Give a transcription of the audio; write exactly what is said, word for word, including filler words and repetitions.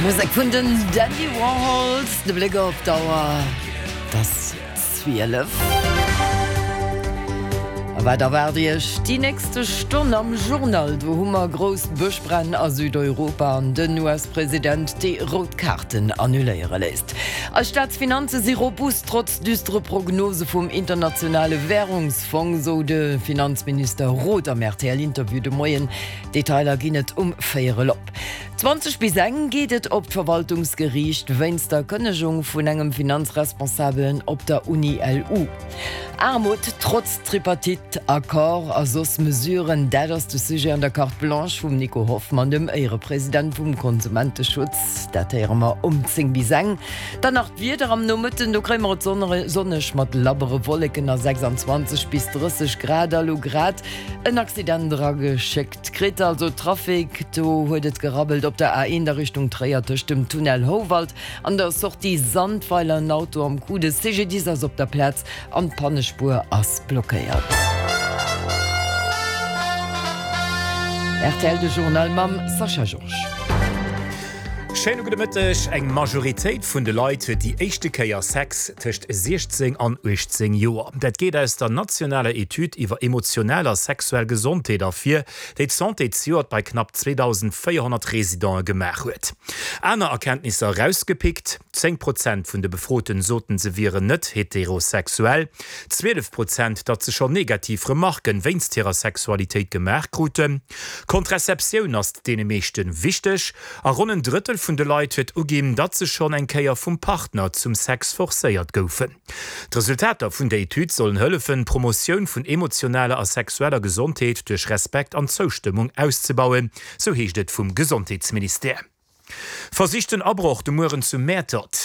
Musek vun den Dandy Warhols, de Bléck op d'Auer, et ass zwielef. A wat erwaart Iech déi nächste Stonn am Journal? Do hu mer grouss Bëschbränn a Südeuropa an den U S-President, dee rout Kaarten annuléiere léisst. Eis Staatsfinanze si robust, trotz düstere Prognose vum Internationale Wärungsfong, sou de Finanzminister Roth am R T L-Interview de Moien. Detailer ginn et um véierel op. Zwanzeg bis eng geet et op d'Verwaltungsgeriicht wéinst der Kënnegung vun engem Finanzresponsabelen op der Uni L U. Aarmut trotz Tripartite-Accord a soss Mesuren, dat ass de Sujet an der Carte Blanche vum Nico Hoffmann, dem Éierepresident vum Konsumenteschutz. Dat héiere mer um zéng bis eng. Dann nach d'Wieder am Nomëtten, do kréie mer et sonneg mat labbere Wolleken a sechsanzwanzeg bis drësseg Grad. A lo grad en Accident erageschéckt kritt, also Trafic, do huet et gerabbelt op der A eent a Richtung Tréier tëscht dem Tunnel Houwald an der Sortie Sandweiler, en Auto am Coup, de C G D I S ass op der Plaz an d'Pannespuer ass blockéiert. R T L de Journal mam Sascha Georges. Schéine gudde Mëtteg. Eng Majoritéit vun de Leit huet déi éischte Kéier Sex tëscht siechzéng an uechtzéng Joer. Dat geet aus der nationaler Etüd iwwer emotional a sexuell Gesondheet ervir, déi d'Santé zejoert bei knapp zweedausendvéierhonnert Residente gemaach huet. Aner Erkenntnisser erausgepickt, zéng Prozent vun de Befroten soten, se wieren net heterosexuell, zwielef Prozent, datt se schonn negativ Remarken wéinst hirer Sexualitéit gemaach kruten, Kontrazeptioun ass deene meeschte wichteg a ronn en Drëttel vun de Leit huet uginn, datt se schonn eng Kéier vum Partner zum Sex forcéiert goufen. D'Resultater vun der Etüd sollen hëllefen, d'Promotioun vun emotionaler a sexueller Gesondheet duerch Respekt an Zoustëmmung auszebauen, sou heescht et vum Gesondheetsministère. Versichten Abroch de Mueren zu Mäertert.